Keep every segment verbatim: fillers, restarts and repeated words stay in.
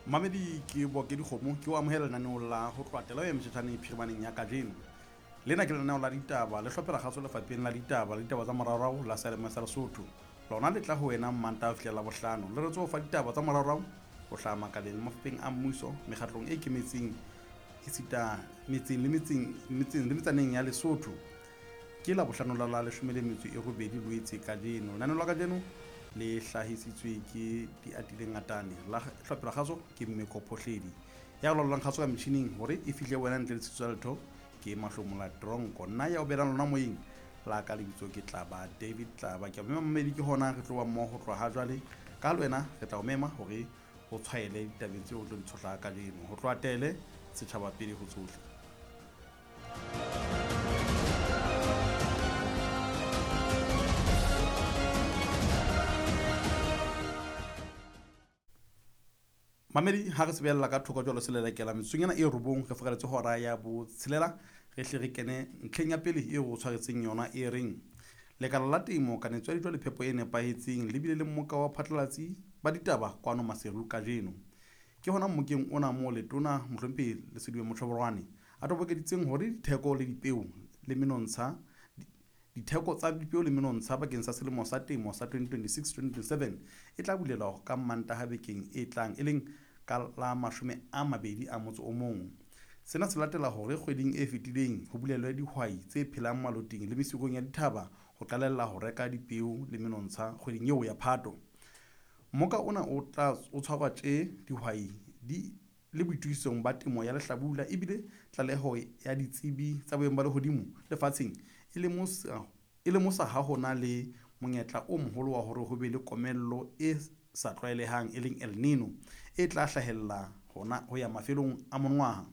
Mamedi ke Boke Dikgomo ke o amohela lenaneong la ho tloha ya motjhetjhane phirimaneng ya kajeno. Lena ke lenaneo la ditaba le hlophela kgaso lefapheng la ditaba le ditaba tsa moraorao la Seyalemoya sa Lesotho. Lona le tla ho wena Mmantaha ho fihlela Labohlano. Le re tso fa ditaba tsa moraorao ho hlaha makaleng le mafapheng a mmuso, mekgatlong e ikemetseng esita metseng le metseng metseng le metsaneng ya Lesotho. Ke Labohlano la la leshome le metso e robedi Loetse kajeno. Lenaneo la kajeno le hlahisitswe ke Diatile Ngatane, la hlophela kgaso ke Mmeko Phohledi. Ya laolang kgaso ka metjhining hore e fihle wena ntle le tshitiso ya letho ke Mahlomola Tronko. Nna ya o belang lona moyeng la ka lebitso ke Tlaba David Tlaba. Ke a mema mmedi ke hona re tlo ba mmoho ho tloha ha jwale. Ka le wena re tla o mema hore o tshwaele ditabeng tseo o tlo di tshohla kajeno. Ho tloha tele setjhaba pele ho tsohle. Mamedi ha re sebella ka thoko jwalo selelekela metsotsong ena e robong re fokaletse hora ya botshelela re hle re kene ntlheng ya pele eo o tshwaretseng yona e reng lekala la temo kanetso ya dijo le phepo e nepahetseng le bile le mmoka wa phatlalatsi ba ditaba kwano Maseru kajeno. Ke hona mmokeng ona moo letona mohlomphehi Lesediwe Mochoboroane a tobokeditseng hore ditheko le dipeo le menontsha ditheko tsa dipeo le menontsha bakeng sa selemo sa temo sa twenty twenty-six twenty twenty-seven e tla bulelwa ka Mantaha bekeng e tlang e leng ka la mashome a mabedi a motso o mong. Sena se latela hore kgweding e fetileng ho bulelwe dihwai tse phelang maloting le mesikong ya dithaba ho qalella ho reka dipeo le menontsha kgweding eo ya Phato. Mmoka ona o tla o tshwarwa tje dihwai di le boitokisong ba temo ya lehlabula ebile tlaleho ya ditsebi tsa boemo ba lehodimo lefatsheng e lemosa, e lemosa ha ho na le monyetla o moholo wa hore ho be le komello e sa tlwaelehang e leng El Nino e tla hlahella hona ho ya mafelong a monongwaha.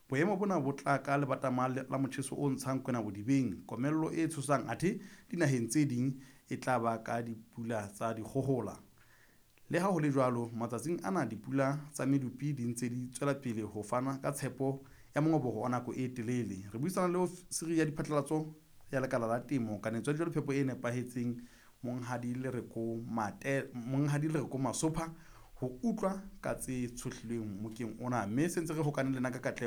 Boemo bona bo tla ka lebatama la motjheso o ntshang kwena bodibeng, komello e tshosang athe dinaheng tse ding e tla ba ka dipula tsa dikgohola. Le ha ho le jwalo, matsatsing ana dipula tsa medupi di ntse di tswela pele ho fana ka tshepo ya mongobo wa nako e telele. Re buisana le ofisiri ya diphatlalatso ya lekala la temo kanetso ya dijo le phepo e nepahetseng Monghadi Lereko Mate, Monghadi Lereko Masopha ho utlwa ka tse tshohlilweng mmokeng ona, mme se ntse re hokane le nna ka katleho.